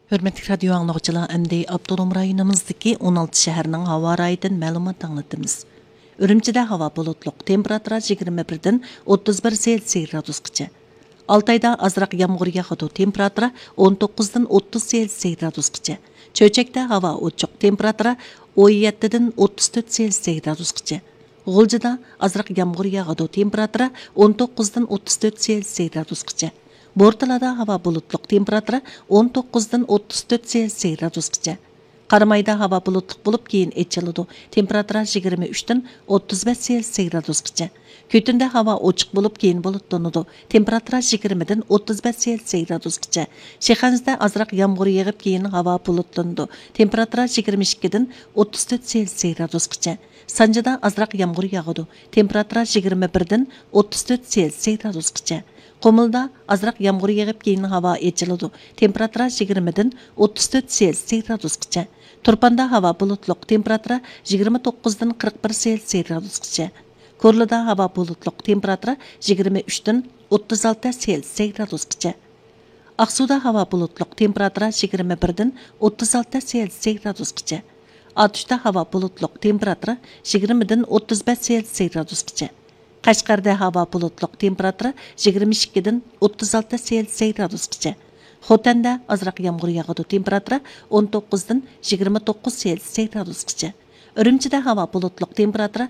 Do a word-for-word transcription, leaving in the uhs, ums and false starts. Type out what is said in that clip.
ھۆرمەتلىك رادىيو ئاڭلىغۇچىلار، ئەمدى ئاپتونوم رايونىمىزدىكى ئون ئالتە شەھەرنىڭ ھاۋا رايىدىن مەلۇمات ئاڭلىتىمىز. ئۈرۈمچىدە ھاۋا بۇلۇتلۇق، تېمپېراتۇرا يىگىرمە بىردىن ئوتتۇز بىر سېلسىيە گرادۇسقىچە. ئالتايدا ئازراق يامغۇر ياغىدۇ، تېمپېراتۇرا ئون توققۇزدىن ئوتتۇز سېلسىيە گرادۇسقىچە. چۆچەكتە ھاۋا ئوچۇق، تېمپېراتۇرا ئون يەتتىدىن ئوتتۇز تۆت سېلسىيە گرادۇسقىچە. غۇلجىدا ئازراق يامغۇر ياغىدۇ، تېمپېراتۇرا ئون توققۇزدىن ئوتتۇز تۆت سېلسىيە گرادۇسقىچە. بورتالادا ھاۋا بۇلۇتلۇق، تېمپېراتۇرا ئون توققۇزدىن ئوتتۇز تۆت سېلسىيە گرادۇسقىچە. قارامايدا ھاۋا بۇلۇتلۇق بولۇپ، كېيىن ئېچىلىدۇ، تېمپېراتۇرا يىگىرمە ئۈچتىن ئوتتۇز بەش سېلسىيە گرادۇسقىچە. كۈتۈندە ھاۋا ئوچۇق بولۇپ، كېيىن بۇلۇتلىنىدۇ، تېمپېراتۇرا يىگىرمىدىن ئوتتۇز بەش سېلسىيە گرادۇسقىچە. شىخەنزىدە ئازراق يامغۇر يېغىپ، كېيىن ھاۋا بۇلۇتلىنىدۇ، تېمپېراتۇرا يىگىرمە ئىككىدىن ئوتتۇز تۆت سېلسىيە گرادۇسقىچە. سانجىدا ئازراق يامغۇر ياغىدۇ، تېمپېراتۇرا يىگىرمە بىردىن ئوتتۇز تۆت سېلسىيە گرادۇسقىچە. قۇمۇلدا ئازراق يامغۇر يېغىپ، كېيىن ھاۋا ئېچىلىدۇ، تېمپېراتۇرا يىگىرمىدىن ئوتتۇز تۆت سېلسىيە گرادۇسقىچە. تۇرپاندا ھاۋا بۇلۇتلۇق، تېمپېراتۇرا يىگىرمە توققۇزدىن قىرىق بىر سېلسىيە گرادۇسقىچە. كورلىدا ھاۋا بۇلۇتلۇق، تېمپېراتۇرا يىگىرمە ئۈچتىن ئوتتۇز ئالتە سېلسىيە گرادۇسقىچە. ئاقسۇدا ھاۋا بۇلۇتلۇق، تېمپېراتۇرا يىگىرمە بىردىن ئوتتۇز ئالتە سېلسىيە گرادۇسقىچە. ئاتۇشتا ھاۋا بۇلۇتلۇق، تېمپېراتۇرا يىگىرمىدىن ئوتتۇز بەش سېلسىيە گرادۇسقىچە. قەشقەردە ھاۋا بۇلۇتلۇق، تېمپېراتۇرا يىگىرمە ئىككىدىن ئوتتۇز ئالتە سېلسىيە گرادۇسقىچە. خوتەندە ئازراق يامغۇر ياغىدۇ، تېمپېراتۇرا ئون توققۇزدىن يىگىرمە توققۇز سېلسىيە گرادۇسقىچە. ئۈرۈمچىدە ھاۋا بۇلۇتلۇق، تېمپېراتۇرا